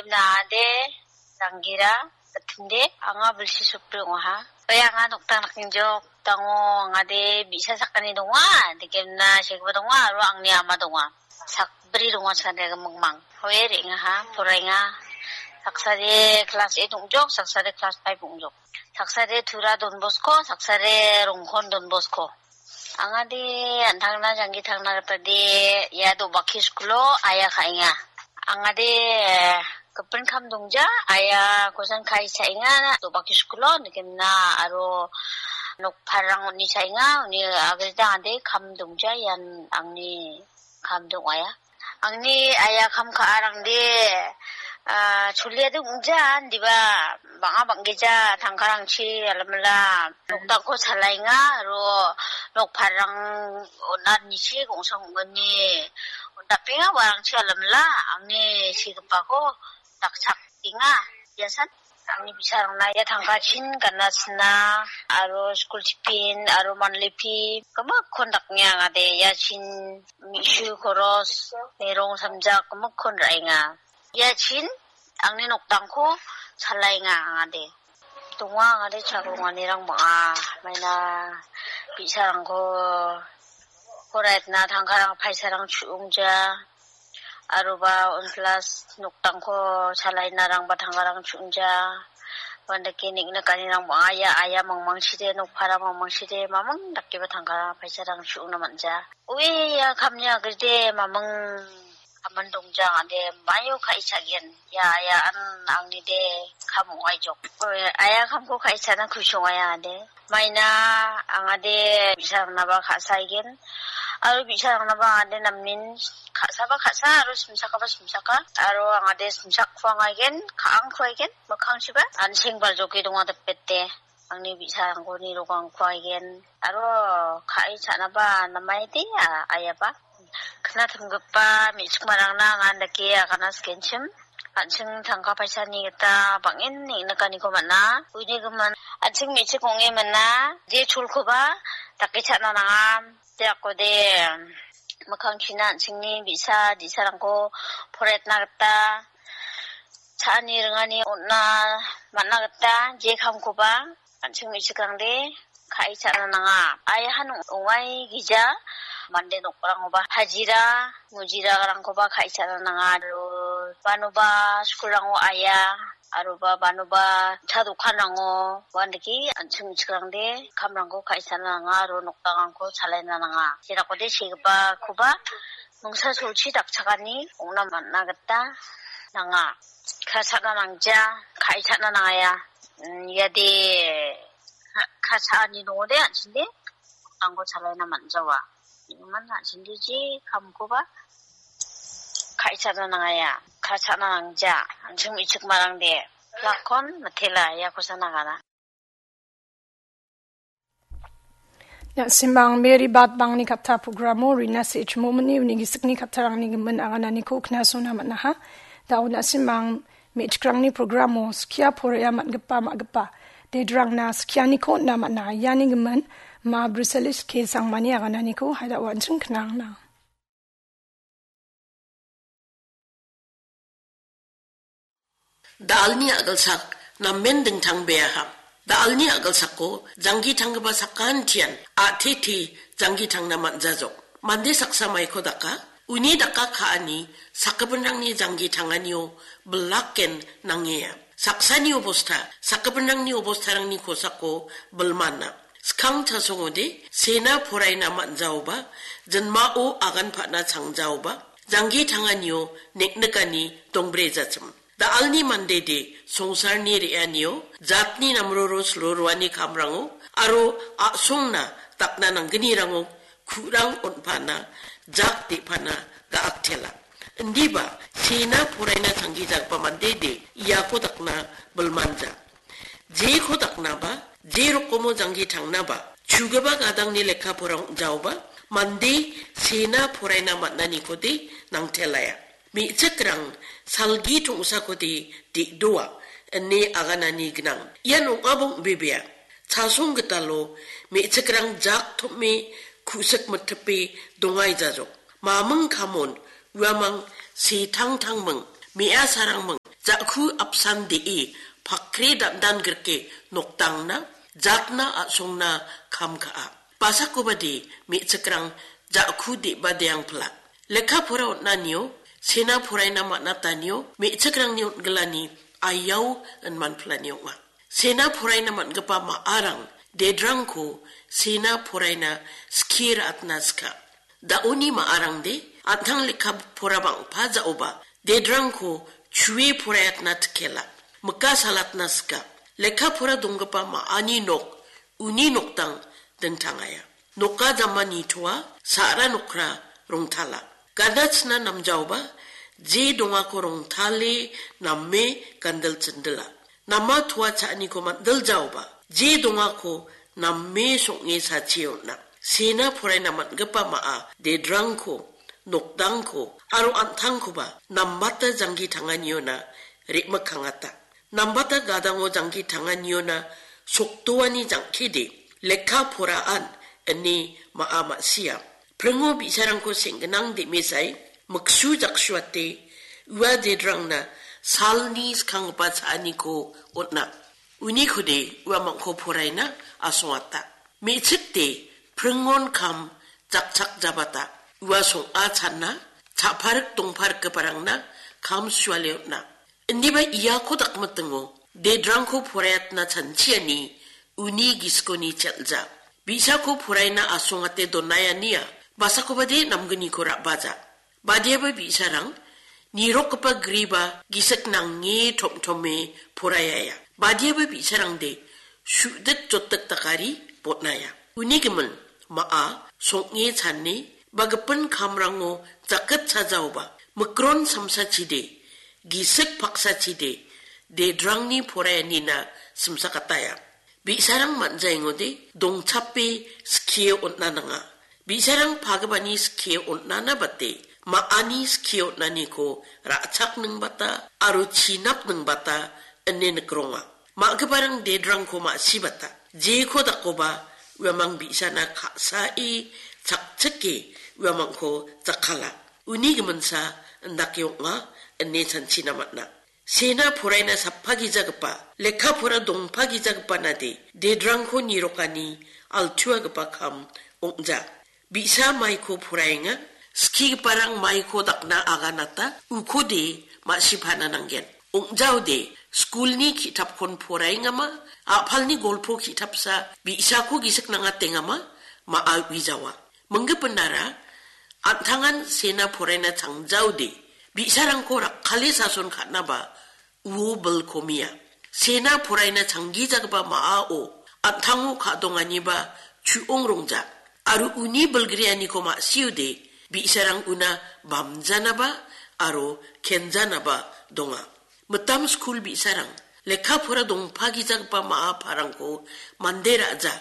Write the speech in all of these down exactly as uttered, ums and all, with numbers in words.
Nade, Dangira, Batinde, anga Bilsi Supri ong·aha. Oe anga nokdang nakinjok, dango angade bi·sa sakgni donga, dikemna segipa donga, aro angni ama donga. Sakbri donga chade mingmang. Oe re·ngaha, poraenga. Saksade class eight ong·jok, saksade class five ong·jok. Saksade Tura Don Bosco, saksade Rongkon Don Bosco. Angade an·tangna janggi tangna gitade ia do·baki skulo aya ka·enga. Angade gipin kam dongja, aya kosan kai cha·enga do·baki skulo nikemna aro nokparang uni cha·enga, uni agreda angade kam dongja ian angni kam dong·aia. Angni aya kam ka·arangde, ah, choliade ong·jan, diba bang·a bang·gija tangkarangchi alamala nokdakko chalaenga, aro nokparang on·anichi gongsa ong·gni on·dapenga uarangchi alamala angni sigipako dakchakenga. Biasan. Angni bi·sarangna ia tangkachin gana sina, aro skul tiffin, aro monthly fee, gimikkon daknge angade iachin me·su koros, merong samjak gimikkon ra·enga. Iachin angni nokdangko chalaenga angade. Donga angade charonganirang bang·a, maina bi·sarangko poraitna tangkarang paisarang chu·ongja. Aroba on plus nokdangko chalainarangba tangkarang chu·ongja. Uandake neng·nikanirang bang·a ia aya mangmangchide, nokpara mangmangchide, mamang dakeba tangkara paisarang chu·ongna man·ja. Ue ia kamni agride mamang kaman dongja ong·ade, maio ka·e cha·gen. Ia, ia an angnide kam ong·aijok. Ue, aya kamko ka·e cha·na kusi ong·aia ong·ade. Maina angade bi·sarangnaba ka·saigen. Aro bi·sarangnaba angade namen ka·saba ka·sa aro simsakaba simsaka. Aro angade simsakkuangaigen, ka·angkuaigen, mikkangchiba an·seng baljoke donga dipete. Angni bi·sarangko nirokangkuaigen. Aro ka·e cha·naba namaide, a-, ayaba. Knatimgipa me·chikmarangna anga dake agana sikenchim. An·ching tangka paisani gita bang·en neng·nikaniko man·a. Uni gimin an·ching me·chik ong·e man·a. Je cholkoba dake cha·na nanga. Jeakode mikkangchina an·chingni bi·sa di·sarangko poraitna gita cha·ani ringani on·na man·a gita je kamkoba an·ching me·chikrangde ka·e cha·na nanga. Aihan ong·, ong·aigija mande nokrangoba hajira, mujirarangkoba ka·e cha·na nanga. Aro banoba skulrango aia, aroba banoba cha dokanrango uandake an·ching me·chikrangde kamrangko ka·e cha·na nanga aro nokdangrangko chalaina nanga. Jerakode segipakoba mingsa solchi dakchakani ong·na man·a gita nanga. Ka·e cha·na nangja, ka·e cha·na nangaia. Mm, iade ka-, ka·e cha·ani dongode an·chingde nokdangko chalaina man·jawa. Iman an·chingde je kamkoba ka·e cha·na nangaia, ka·e cha·na nangja, an·ching me·chikmarangde. Lakon mitela, ia kosa nagana. Na·simang Mary Bat Bangni katta programo Rina Sechmomini uni gisikni kattarangni gimin agananiko knasona man·aha. Da·o na·simang me·chikrangni programo skia porea man·gipa ma·gipa dedrangna skianiko on·na man·a. Iani gimin ma Bruselis K Sangmani agananiko haida uan·ching knangna. Da·alni a·gilsak namen dingtangbeaha. Da·alni a·gilsako janggi tanggipa sakantian a·tete janggi tangna man·jajok. Mande saksa maiko daka, uni daka ka·ani sakgipinrangni janggi tanganio bilaken nangea. Saksani obosta, sakgipinrangni obostarangni kosako bilmana. Skang chasongode sena poraina man·jaoba, jinmao agan pa·na changjaoba, janggi tanganio neknikani dongbrejatim. Da·alni mandede songsarni re·anio, jatni namroro siloroani kamrango, aro a·songna dakna nanggnirango ku·rang on·pana, jak de·pana ga·aktela. Indiba sena poraina changgijagipa mandede iako dakna bilmanja. Jeko daknaba, je rokomo janggi tangnaba, chugipa gadangni lekka porang ong·jaoba, mande sena poraina man·anikode nangtelaia. Me·chikrang salgi tongsakode de·doa, ine aganani gnang. Ian ong·aba ong·bebea. Chasong gitalo me·chikrang jak tom·e ku·sik mitipe dongaijajok. Maming kamon, uamang, setang tangming, me·a sarangming, ja·ku apsan de·e pakre dandan grike nokdangna jatna a·songna kam ka·a. Basakobade me·chikrang ja·ku de·badeangpila. Lekka pora on·anio, sena poraina man·atanio, me·chikrangni on·gilani aiao inmanpilani ong·a. Sena poraina man·gipa ma·arang dedrangko sena poraina skie ra·atna sika. Da·oni ma·arangde an·tang lekka pora bang·pa ja·oba dedrangko chue poraiatna tikela. Mika salatna sika. Lekka pora donggipa ma·ani nok, uni nokdang dingtangaia. Noka jama nitoa, sa·ra nokra rongtala. Gadachina namjaoba, je dongako rongtale name gandil chindila. Nama toa cha·aniko mandiljaoba, je dongako name song·e sachi on·a. Sena poraina man·gipa ma·a dedrangko, nokdangko, aro an·tangkoba nambata janggi tangani on·a re·mikkangata. Nambata gadango jangki tangani on·a sokdoani jangkide, lekka poraan ine ma·a ma·sia. Pringo bi·sarangko seng·ginang de·mesai, miksu jaksuate, ua dedrangna salni skanggipa cha·aniko on·a. Unikode uamangko poraina asongata. Me·chikde pringon kam jakchakjabata. Ua song·a channa, cha·parik dongparikgiparangna kam suale on·a. Indiba iako dakmitingo, dedrangko poraiatna chanchiani uni gisikoni chel·ja. Bi·sako poraina asongate donaiania, basakobade namgniko ra·baja. Badiaba bi·sarang, nirokgipa griba gisik nange tom·tome poraiaia. Badiaba bi·sarangde, su·dik jotdik dakari botnaia. Uni gimin, ma·a, song·e chane, ba gipin kamrango jakit chajaoba, mikron samsachide, gisik paksachide, dedrangni poraianina simsakataia. Bi·sarang man·jaengode, dongchape skie on·na nanga. Bi·sarang pagipani skie on·ana bate, ma·ani skie on·aniko ra·chakningbata aro chinapningbata ine nikronga. Ma·giparang dedrangko ma·sibata, jeko dakoba uamang bi·sana ka·sae chakchike uamangko jakkala. Uni giminsa indake ong·a ine chanchina man·a. Sena poraina sappagijagipa, lekka pora dongpagijagipa nade, dedrangko nirokani altuagipa kam ong·ja. Bi·sa maiko poraenga, skigiparang maiko dakna aganata, ukode ma·sipana nanggen. Ong·jaode, skulni ki·tapkon poraengama, a·palni golpo ki·tapsa, bi·sako gisik nangatengama, ma·a uijawa. Minggipinara, an·tangan sena poraina changjaode, bi·sarangko rakkale sason ka·naba, uo bilkomia. Sena poraina changgijagipa ma·ao an·tango ka·donganiba chu·ong rongja. Aro uni bilgrianiko ma·siode bi·sarang una bamjanaba aro kenjanaba donga. Mitam skul bi·sarang lekka pora dongpagijagipa ma·a parangko mande ra·ja.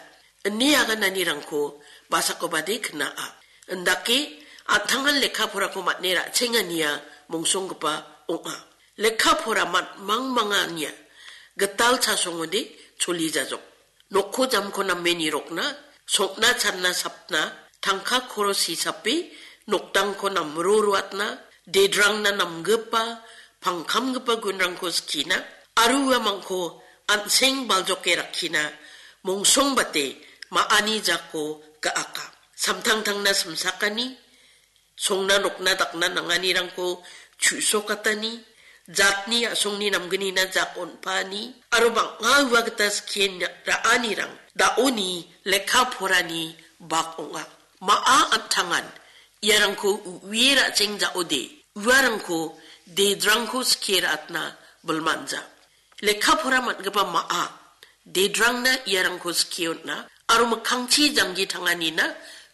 Ine agananirangko basakobade kna·a. Indake an·tangan lekka porako man·e ra·chengania mongsonggipa ong·a. Lekka pora man-, mangmangania gital chasongode choli jajok. Nokko jamko name nirokna, sokna channa sapna, tangka koros hisape, nokdangko namro ruatna, dedrangna namgipa, pangkamgipa gunrangko skina, aro uamangko an·seng baljoke rakkina, mongsongbate ma·ani jako ga·aka. Samtangtangna simsakani, songna nokna dakna nanganirangko chu·sokatani, jatni a·songni namgnina jak on·paani, aro bang·a ua gita skie ra·anirang da·oni lekka porani bak ong·a. Ma·a an·tangan iarangko u-, u·ie ra·cheng ja·ode, uarangko dedrangko skie ra·atna bilmanja. Lekka pora man·gipa ma·a, dedrangna iarangko skie on·a, aro mikkangchi janggi tanganina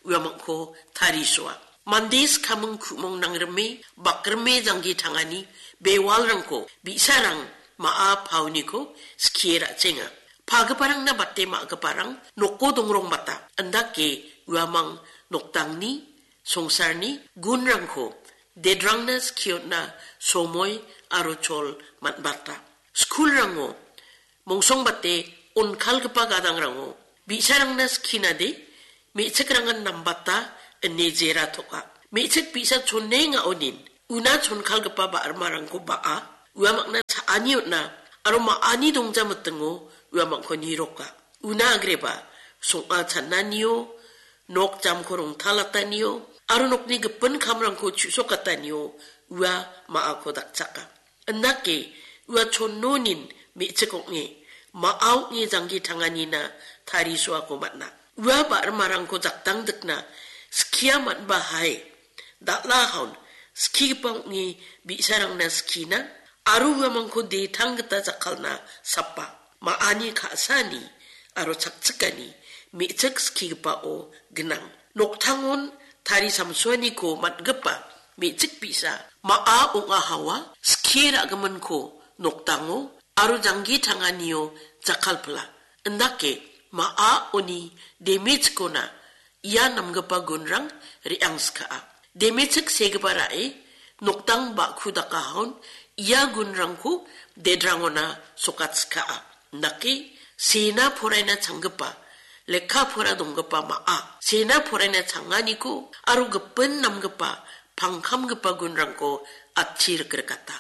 uamangko tarisoa. Mande skaming ku·mong nangrime, bakrime janggi tangani bewalrangko bi·sarang ma·a paoniko skie ra·chenga. Pagiparangna bate ma·giparang noko dongrongbata, indake uamang nokdangni, songsarni gunrangko dedrangna skie on·na somoi aro chol man·bata. Skulrango mongsongbate onkalgipa gadangrango bi·sarangna skinade me·chikrangan nambata ine jera toka. Me·chik bi·sa chonenga onin una chonkalgipa ba·rimarangko ba·a Ua makna cha·ani on·a, aro ma·ani dongja mitingo ua mangko niroka. Una agreba, song·a chananio, nok jamko rongtalatanio, aro nokni gipin kamrangko chu·sokatanio ua ma·ako dakchaka. Indake ua chonnonin me·chik ong·e, ma·a ong·e janggi tanganina tarisoako man·a. Ua ba·rimarangko jaktangdikna skia man·ba hai, dal·a haun skigipa ong·e bi·sarangna skina, aro uamangko detang gita jakkalna sapa. Ma·ani ka·sani aro chakchikani me·chik skigipao gnang. Noktangon tari samsoaniko man·gipa me·chik bi·sa ma·a ong·a hawa skie ra·giminko noktango aro janggi tanganio jakkalpila. Indake ma·a oni demechikona ia namgipa gunrang re·angska·a. Demechik segipa ra·e noktang ba·ku dakahaon ia gunrangko dedrangona sokatska·a. Indake sena poraina changgipa, lekka pora donggipa ma·a, sena poraina changaniko aro gipin namgipa pangkamgipa gunrangko atchi rikrikata.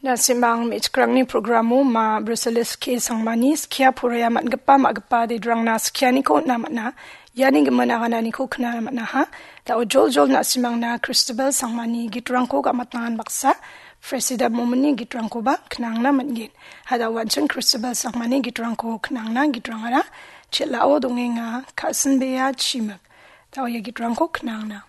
Na·simang me·chikrangni programo ma Bruselis K Sangmani skia porea man·gipa ma·gipa dedrangna skianiko on·a man·a. Iani gimin agananiko knana man·aha. Da·o joljol na·simangna Kristobal Sangmani gitrangko gamatnangan baksa, Presida Momini gitrangkoba knangna man·gen. Hada wanching Kristobal Sangmani gitrangko knangna gitrangara chel·ao dongenga, ka·sinbea chimik. Da·o ia gitrangko knangna.